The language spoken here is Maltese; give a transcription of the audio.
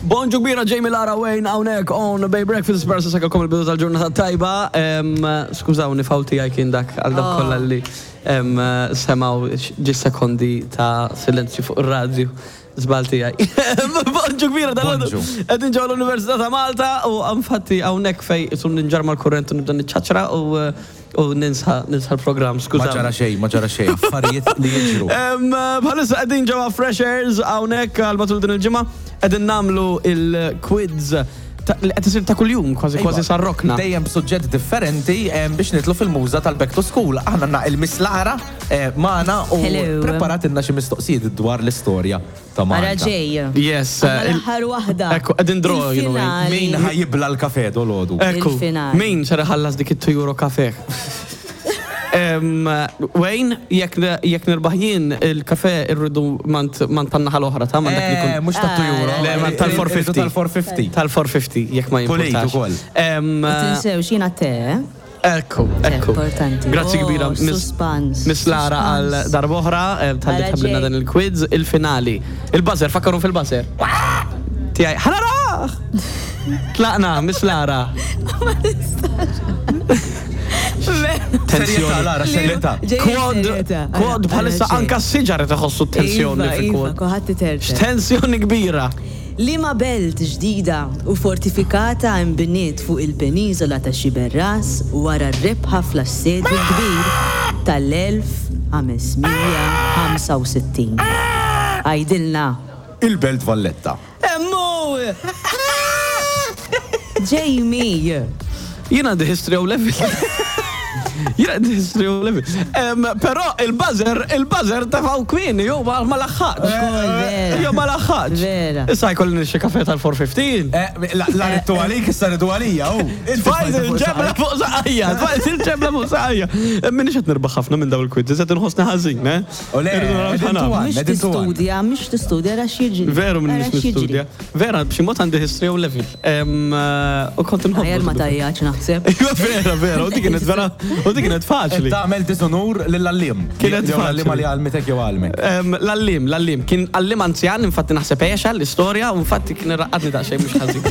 Bonġu kbira Jamie Lara Wayne hawnhekk on Bay Breakfast Spera se kom il-bidu tal-ġurnata tajba. Skużawni fawl tiegħi kien dak għal dak kollha li semgħu ġi sekondi ta' silenzju fuq ir-radju. Żball tiegħi. Bonġu kbira dal Bonġu. Qegħdin ġewwa l-Università ta' Malta u infatti hawnhekk fejn isu ninġar mal-kurrent u nibda niċċaċra u u ninsa ninsa l-programm, Ma skużawni. ġara xejn, ma ġara xejn, affarijiet li jiġru. Bħalissa qegħdin ġewwa Fresh Airs hawnhekk għal matul din il-ġimgħa qegħdin nagħmlu il-quiz li qed isir ta' kuljum kważi kważi Iva, sarrokna. Dejjem b'suġġett differenti biex nidħlu fil-muża tal-back to school. Aħna għandna il-Miss Lara magħna u Hello. preparatilna xi mistoqsijiet dwar l-istorja ta' Ara Malta. ġej. Yes. Għandna l-aħħar waħda. Ekku, qegħdin draw, you know. Il-finali. Min ħa jibla l-kafe dolodu? Ekku, Il-finali. min ser iħallas dik it-2 euro kafe? Wayne, jekk jekk nirbaħ jien il-kafe irridu mant mant tan-naħa l-oħra ta' man dak li Eh, jkun. mhux ta' 2 euro. Le, man tal-450. Tal-450. Tal-450, jekk ma Pulit jimpurtax. ukoll. U tinsewx jiena te, eh? Ekku, ekku. Importanti. Grazzi Oh, kbira, suspans, Miss Lara għal suspans. darb'oħra, tal-li Ara tħabbilna ġej. dan il-quiz, il-finali. Il-buzzer, fakkaru fil-buzzer. Tiegħi, ħanaraħ! Tlaqna, Miss Lara. Ma nistax. Serjetà, Lara, serjetà. Ġej Kwad, serjetà. kwad Ara, bħalissa ara ġej. anka s-siġar qed iħossu t-tensjoni Iva, fil-kwad. Iva, kulħadd iterter. Tensjoni kbira. Liema belt ġdida u fortifikata nbniet fuq il-peniżola ta' Xiberras wara r-rebħa fl-Assedju l-Kbir tal-1565? Għidilna. Il-Belt Valletta. Hemm hu! Jamie! Jien għandi history O level. Jien għandi history O level. Però il-buzzer, il-buzzer tefgħu kmieni, jew ma laħħaqx. Ukoll vera. Jew ma laħħaqx. Vera. Issa jkolli nixxi kafe tal-415. Eh, La ridtu għalik, issa ridu għalija, u. Tfajt il-ġebla fuq saqajja, tfajt il-ġebla fuq saqajja. Minix qed nirbaħ ħafna minn dawn il-quizzes, qed inħossni ħażin, eh? U le, Irridu naraw qegħdin x'ħanagħmel. tuwan. Mhux Qegħdin tuwan. tistudja, mhux tistudja ra x'jiġri. Veru Ara minix x'jiġri. nistudja. Vera, b'xi mod għandi history O level. U kont inħobb. Aħjar ma tajjaċ naħseb. Iva, vera, vera, u dik kienet vera, u dik kienet faċli. Tagħmel diżonur lill-għalliem. Kienet Jew l-għalliema faċli. li għallmitek jew għallmek. L-għallim, l-għallim, kien għallim anzjan, infatti naħseb għexa l-istorja, u infatti kien irraqqadni daqsxejn mhux ħażin.